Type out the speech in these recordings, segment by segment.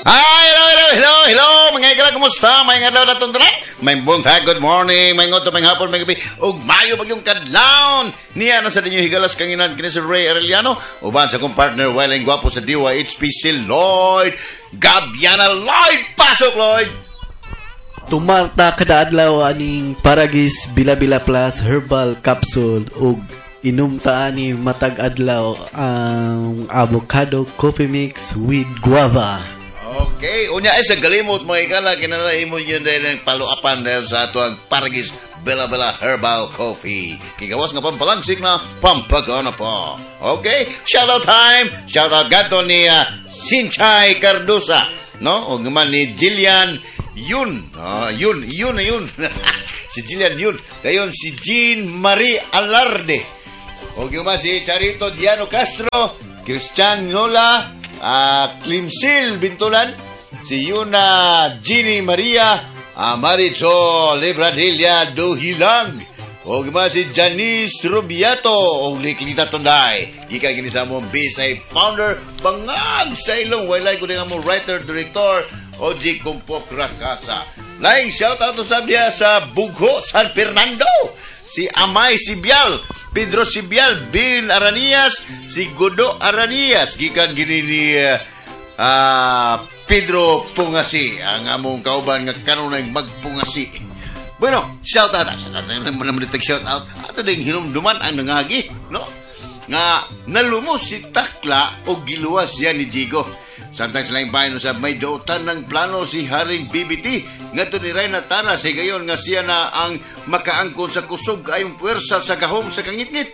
Hi, hello, hello, hello, hello, mga higala, kumusta? May adlaw na itong tanan? May buntag, good morning, may ngoto, may hapon, may gabi, ug mayo bagyong kadlawon. Niya na sa ninyo higalas kanginan kini si Ray Arellano, uban sa akong partner, Welling Gwapo sa DYHP, si Lloyd Gabiana. Lloyd, pasok, Lloyd! Tumarta kada adlaw aning Paragis Bila Bila Plus Herbal Capsule ug inom ta ani matag adlaw ang avocado coffee mix with guava. Okay, unya ay sa galimot, mga higala, kinala imo yun dahil ang paluapan dahil sa ato ang Paragis Bella Bella Herbal Coffee. Kigawas nga pampalangsik na pampagana pa. Okay, shout out time. Shout out gato ni Sinchay Cardosa, no? O naman ni Jillian Yun. Ah, yun, yun na yun. Si Jillian Yun. Dayon si Jean Marie Alarde. O man si Charito Diano Castro, Christian Nola, Climsil Bintulan, si Yuna Ginny Maria, Maricho Libradilla Duhilang, o man si Janice Rubiato, o Liklita Tunday. Gikan kini sa among Bisay founder, bangag sa ilong, walay ko nga mo writer, director, Oji Kumpok Rakasa. Laing shout out to niya sa Bugho, San Fernando. Si Amay Sibial, Pedro Sibial, Bin Aranias, si Godo Aranias. Gikan gini ni Pedro Pungasi, ang among kauban nga kanunay magpungasi. Bueno, shout out. Shout out naman naman shout out. Ato ding hinumduman ang nangagi, no? Nga nalumos si Takla o giluwas siya ni Jigo. Samtang sa laing bayan sa may dautan ng plano si Haring BBT ngadto ni Reyna Tara sa higayon nga siya na ang makaangkon sa kusog kayong puwersa sa gahom sa kangitngit.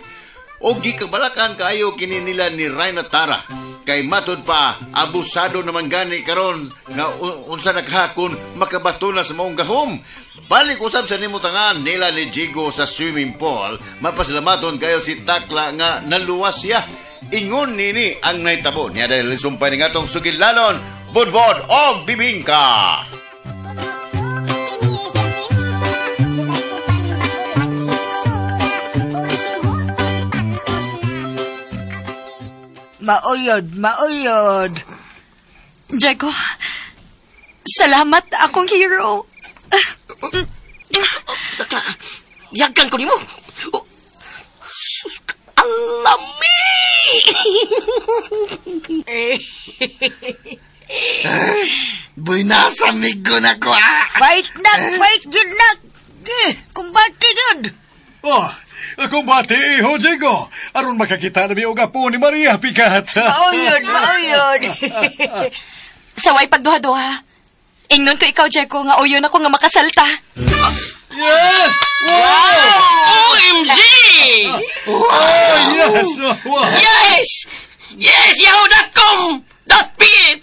O gikabalakan kaayo kini nila ni Reyna Tara. Kay matud pa abusado naman gani karon nga unsa nakahakon makabato na sa maong gahom. Balik usab sa nimutangan nila ni Jigo sa swimming pool, mapasalamaton kayo si Takla nga naluwas siya. Ingon nini ang naitabo niya dahil sumpay ni ngatong sugilanon, budbod og bibingka. Mauyod, mauyod. Diego, salamat akong hero. Takla, yagan ko nimo. Oh, sus, ang lami! Buinasa, migo na ko, ah! Fight nak, fight gyud nak. Eh, kumbate gyud. Oh, kumbate, iho, Jigo. Aron makakita na mi og apo ni Maria Picat. Mauyod, mauyod. Saway pagduha-duha. Ingnon ko ikaw, Diego, nga uyon ako nga makasalta. Yes! Wow! OMG! Oh, yes! Wow! Yes! Yes! Yahoo.com.ph